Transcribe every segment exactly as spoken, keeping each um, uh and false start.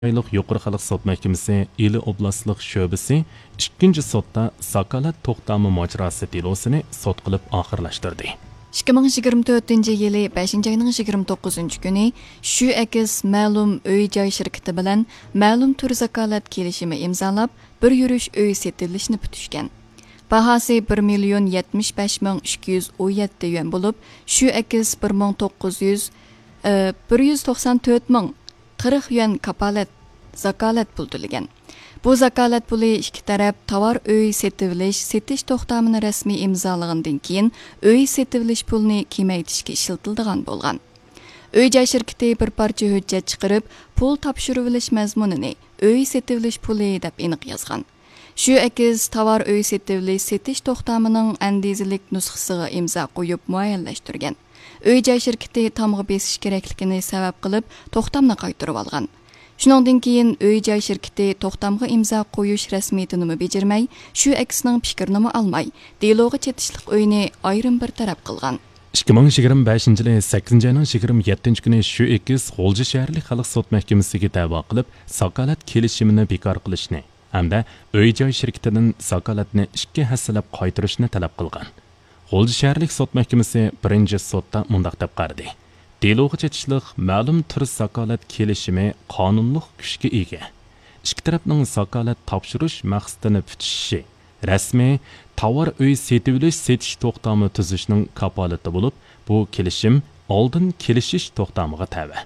رايونلۇق يۇقىرى خەلق سوت مەھكىمىسى ئىلى ئوبلاستلىق شۆبىسى ئىككىنچى سوتتا زاكالەت توختامى ماجىراسى دېلوسىنى سوت قىلىپ ئاخىرلاشتۇردى. ئىككى مىڭ يىگىرمە تۆتىنچى يىلى بەشىنچى ئاينىڭ يىگىرمە توققۇزىنچى كۈنى شۈ ئېكس مەلۇم ئۆي جاي شىركىتى بىلەن مەلۇم تۈر زاكالەت كېلىشىمى ئىمزالاپ، بىر يۈرۈش ئۆي سېتىۋېلىشنى پۈتۈشكەن. باھاسى بىر مىليون يەتمىش بەش مىڭ ئىككى يۈز ئون يەتتە يۈەن بولۇپ، شۈ ئېكس بىر مىڭ توققۇز يۈز، ئى، بىر يۈز توقسان تۆت مىڭ قىرىق يۈەن كاپالەت، زاكالەت پۇل تۆلىگەن. بۇ زاكالەت پۇلى ئىككى تەرەپ تاۋار ئۆي سېتىۋېلىش، سېتىش توختامىنى رەسمىي ئىمزالىغاندىن كېيىن، ئۆي سېتىۋېلىش پۇلىنى كېمەيتىشكە ئىشلىتىلىدىغان بولغان. ئۆي جاي شىركىتى بىر پارچە ھۆججەت چىقىرىپ، پۇل تاپشۇرۇۋېلىش مەزمۇنىنى ئۆي سېتىۋېلىش پۇلى دەپ ئېنىق يازغان. شۈ ئېكس تاۋار ئۆي سېتىۋېلىش سېتىش توختامىنىڭ ئەندىزىلىك نۇسخىسىغا ئىمزا قويۇپ مۇئەييەنلەشتۈرگەن. ئۆي جاي شىركىتى تامغا بېسىش كېرەكلىكىنى سەۋەب قىلىپ، توختامنى قايتۇرۇۋالغان. شۇنىڭدىن كېيىن ئۆي جاي شىركىتى توختامغا ئىمزا قويۇش رەسمىيىتىنىمۇ بېجىرمەي، شۈ ئېكسنىڭ پىكرىنىمۇ ئالماي، دېلوغا چېتىشلىق ئۆينى ئايرىم بىر تەرەپ قىلغان. ئىككى مىڭ يىگىرمە بەشىنچى يىلى سەككىزىنچى ئاينىڭ يىگىرمە يەتتىنچى كۈنى شۈ ئېكس غۇلجا شەھەرلىك خەلق سوت مەھكىمىسىگە دەۋا قىلىپ، زاكالەت كېلىشىمىنى بىكار قىلىشنى ھەمدە ئۆي جاي شىركىتىدىن زاكالەتنى ئىككى ھەسسىلەپ قايتۇرۇشنى تەلەپ قىلغان. غۇلجا شەھەرلىك سوت مەھكىمىسى بىرىنچى سوتتا مۇنداق دەپ قارىدى: دېلوغا چېتىشلىق مەلۇم تۈر زاكالەت كېلىشىمى قانۇنلۇق كۈچكە ئىگە. ئىككى تەرەپنىڭ زاكالەت تاپشۇرۇش مەقسىتىنى پۈتۈشۈشى رەسمىي تاۋار ئۆي سېتىۋېلىش سېتىش توختامى تۈزۈشنىڭ كاپالىتى بولۇپ، بۇ كېلىشىم ئالدىن كېلىشىش توختامىغا تەۋە.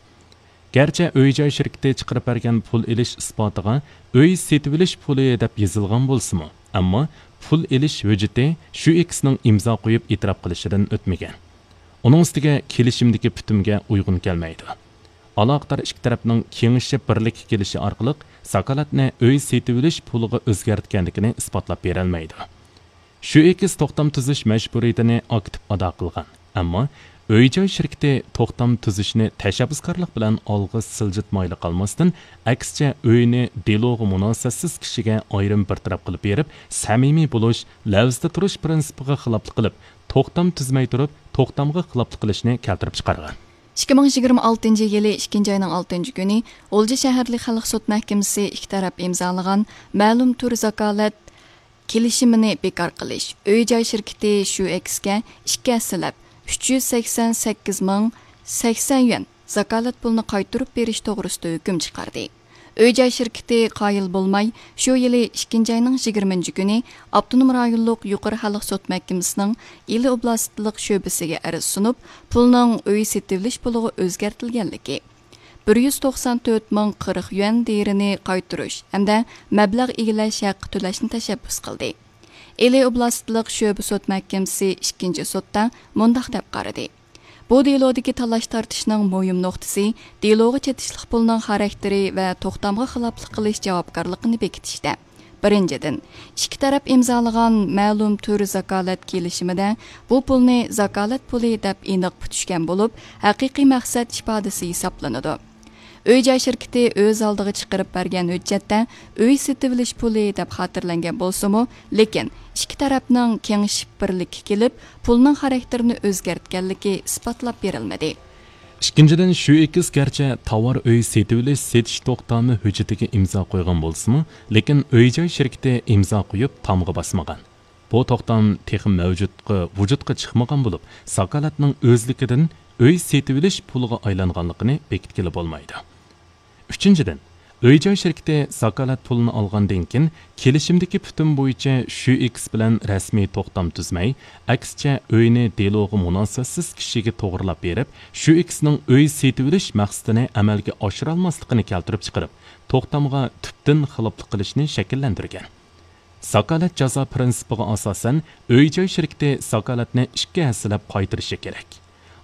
گەرچە ئۆي جاي شىركىتى چىقىرىپ بەرگەن پۇل ئېلىش ئىسپاتىغا ئۆي سېتىۋېلىش پۇلى دەپ يېزىلغان بولسىمۇ، ئەمما پۇل ئېلىش ھۆججىتى شۈ ئېكسنىڭ ئىمزا قويۇپ ئېتىراپ قىلىشىدىن ئۆتمىگەن. ئۇنىڭ ئۈستىگە كېلىشىمدىكى پۈتۈمگە ئۇيغۇن كەلمەيدۇ. ئالاقىدار ئىككى تەرەپنىڭ كېڭىشىپ بىرلىككە كېلىشى ئارقىلىق زاكالەتنى ئۆي سېتىۋېلىش پۇلىغا ئۆزگەرتكەنلىكىنى ئىسپاتلاپ بېرەلمەيدۇ. شۈ ئېكس توختام تۈزۈش مەجبۇرىيىتىنى ئاكتىپ ئادا قىلغان، ئەمما ئۆي جاي شىركىتى توختام تۈزۈشنى تەشەببۇسكارلىق بىلەن ئالغا سىلجىتمايلا قالماستىن، ئەكسىچە ئۆينى دېلوغا مۇناسىۋەتسىز كىشىگە ئايرىم بىر تەرەپ قىلىپ بېرىپ، سەمىمىي بولۇش، لەۋزىدە تۇرۇش پىرىنسىپىغا خىلاپلىق قىلىپ، توختام تۈزمەي تۇرۇپ، توختامغا خىلاپلىق قىلىشنى كەلتۈرۈپ چىقارغان. ئىككى مىڭ يىگىرمە ئالتىنچى يىلى ئىككىنچى ئاينىڭ ئالتىنچى كۈنى غۇلجا شەھەرلىك خەلق سوت مەھكىمىسى ئىككى تەرەپ ئىمزالىغان مەلۇم تۈر زاكالەت كېلىشىمىنى بىكار قىلىش، ئۆي جاي شىركىتى شۈ ئېكسكە ئىككى ھەسسىلەپ ئۈچ يۈز سەكسەن سەككىز مىڭ سەكسەن يۈەن زاكالەت پۇلىنى قايتۇرۇپ بېرىش توغرىسىدا ھۆكۈم چىقاردى. ئۆي جاي شىركىتى قايىل بولماي، شۇ يىلى ئىككىنچى ئاينىڭ يىگىرمىنچى كۈنى ئاپتونوم رايونلۇق يۇقىرى خەلق سوت مەھكىمىسىنىڭ ئىلى ئوبلاستلىق شۆبىسىگە ئەرز سۇنۇپ، پۇلنىڭ ئۆي سېتىۋېلىش پۇلىغا ئۆزگەرتىلگەنلىكى، بىر يۈز توقسان تۆت مىڭ قىرىق يۈەن دېيىرىنى قايتۇرۇش ھەمدە مەبلەغ ئىگىلەش ھەققى تۆلەشنى تەشەببۇس قىلدى. ئىلى ئوبلاستلىق شۆبە سوت مەھكىمىسى ئىككىنچى سوتتا مۇنداق دەپ قارىدى: بۇ دېلودىكى تالاش-تارتىشنىڭ مۇھىم نۇقتىسى دېلوغا چېتىشلىق پۇلنىڭ خاراكتېرى ۋە توختامغا خىلاپلىق قىلىش جاۋابكارلىقىنى بېكىتىشتە. بىرىنچىدىن، ئىككى تەرەپ ئىمزالىغان مەلۇم تۈر زاكالەت كېلىشىمىدە بۇ پۇلنى زاكالەت پۇلى دەپ ئېنىق پۈتۈشكەن بولۇپ، ھەقىقىي مەقسەت ئىپادىسى ھېسابلىنىدۇ. ئۆي جاي شىركىتى ئۆز ئالدىغا چىقىرىپ بەرگەن ھۆججەتتە ئۆي سېتىۋېلىش پۇلى دەپ خاتىرىلەنگەن بولسىمۇ، لېكىن ئىككى تەرەپنىڭ كېڭىشىپ بىرلىككە كېلىپ، پۇلنىڭ خاراكتېرىنى ئۆزگەرتكەنلىكى ئىسپاتلاپ بېرىلمىدى. ئىككىنچىدىن، شۈ ئېكس گەرچە تاۋار ئۆي سېتىۋېلىش سېتىش توختامى ھۆججىتىگە ئىمزا قويغان بولسىمۇ، لېكىن ئۆي جاي شىركىتى ئىمزا قويۇپ تامغا باسمىغان. بۇ توختام تېخى مەۋجۇتقا، ۋۇجۇدقا چىقمىغان بولۇپ، زاكالەتنىڭ ئۆزلۈكىدىن ئۆي سېتىۋېلىش پۇلىغا ئايلانغانلىقىنى بېكىتكىلى بولمايدۇ. ئۈچىنچىدىن، ئۆي جاي شىركىتى زاكالەت پۇلىنى ئالغاندىن كېيىن، كېلىشىمدىكى پۈتۈم بويىچە شۈ ئېكس بىلەن رەسمىي توختام تۈزمەي، ئەكسىچە ئۆينى دېلوغا مۇناسىۋەتسىز كىشىگە توغرىلاپ بېرىپ، شۈ ئېكسنىڭ ئۆي سېتىۋېلىش مەقسىتىنى ئەمەلگە ئاشۇرالماسلىقىنى كەلتۈرۈپ چىقىرىپ، توختامغا تۈپتىن خىلاپلىق قىلىشنى شەكىللەندۈرگەن. زاكالەت جازا پىرىنسىپىغا ئاساسەن، ئۆي جاي شىركىتى زاكالەتنى ئىككى ھەسسىلەپ قايتۇرۇشى كېرەك.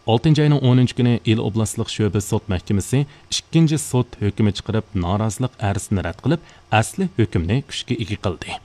ئالتىنچى ئاينىڭ ئونىنچى كۈنى ئىلى ئوبلاستلىق شۆبە سوت مەھكىمىسى ئىككىنچى سوت ھۆكمى چىقىرىپ، نارازىلىق ئەرزىنى رەت قىلىپ، ئەسلى ھۆكۈمنى كۈچكە ئىگە قىلدى.